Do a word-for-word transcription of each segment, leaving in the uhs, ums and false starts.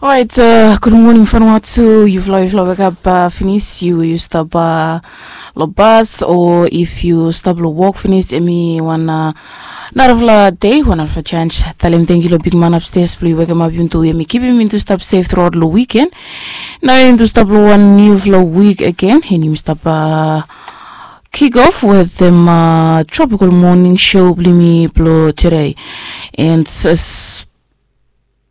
Orait, gud moning Vanuatu. Yufala, yufala wekap finis, yu yu stap long bas o if yu stap long wok finis, em i wan narafala dei, wan narafala sens. Talem tangkiu long bigman apstes blong yu wekemap yumi tu, em i kipim yumi tu stap sef truaot long wiken. Nao yumi tu stap long wan niufala wik agen, en yumi stap kik of wetem tropikal moning show blong yumi blong tude. And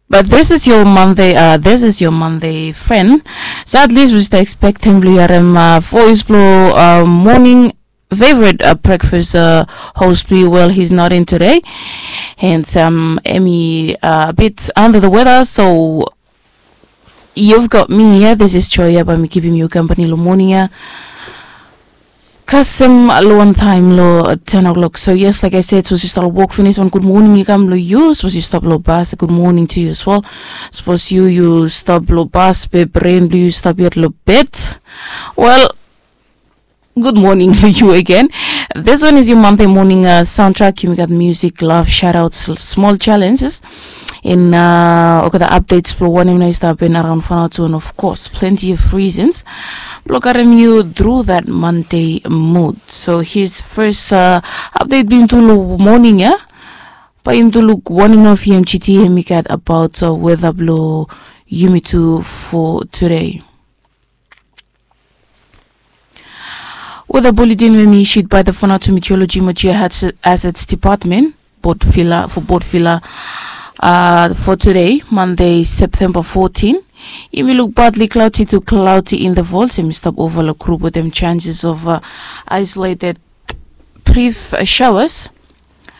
but this is your Monday, uh, this is your Monday friend. So at least we should expect him blong yu harem voice blong moning favorite breakfast host blong yu. Well, he's not in today, and em i a bit under the weather, so you've got me here. This is Joy ya, bae mi kipim yu kampani long moning ya. Kasem long wan taem long ten o'clock. So yes, like I said, sapos yu stap long wok finis, wan gud moning i kam long yu. Sapos yu stap long bas, gud moning tu yu as well. Sapos yu yu stap long bas be bren blong yu stap yet long bed, wel, gud moning long yu agen. This one is your Monday morning soundtrack. Yumi gat music, love, shoutouts, small challenges, and olgeta updates blong wanem nao i stap hapen araon Vanuatu, and of course plenty of reasons blong karem yu through that Monday mood. So here's first update blong yumi tu long moning ya. Bae yumi tu luk wanem nao V M G T hemi gat about weather blong yumi tu for today. Weather bulletin we hemi issued by the Vanuatu Meteorology mo Geohazards Department, Port Vila, for Port Vila, uh, for today, Monday, September fourteen. Yumi luk partly cloudy to cloudy intervals, hemi stap ova long grup wetem chances of uh, isolated brief uh, showers.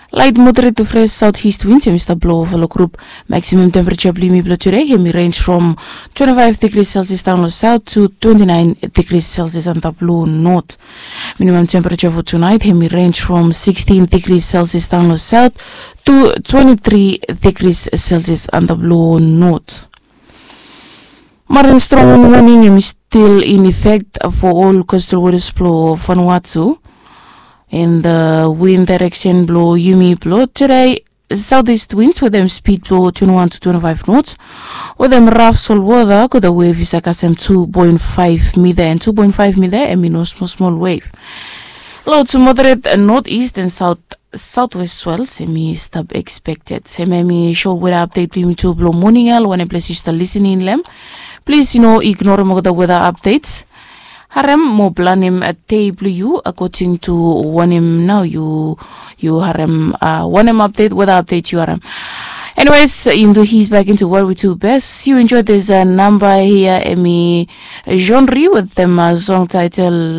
Light moderate to fresh southeast winds hemi stap blow ova long grup. Maximum temperature blong yumi blong today hemi range from twenty-five degrees Celsius down long south to twenty-nine degrees Celsius antap long north. Minimum temperature for tonight hemi range from sixteen degrees Celsius down long south to twenty-three degrees Celsius antap long north. Marin strong warning hemi still in effect for all coastal waters blong Vanuatu. And the wind direction blong yumi blong today, southeast winds wetem speed blong twenty-one to twenty-five knots wetem rough salt water. Go the wave is a kasem two point five meter, and two point five meter hemi no small small wave. Low to moderate northeast and south southwest swells hemi stap expected. Hemia hemi show weather update blong yumi tu blong moning ya long wanem ples yu stap listening long hem. Plis yu no ignorem olgeta weather updates. Harem mo planem dei blong yu according to wanem nao yu yu harem uh, wanem update, weather update yu harem. Anyways, yumi tu ease back into what we do best. You enjoy this uh, number here, hemi genre wetem uh, song title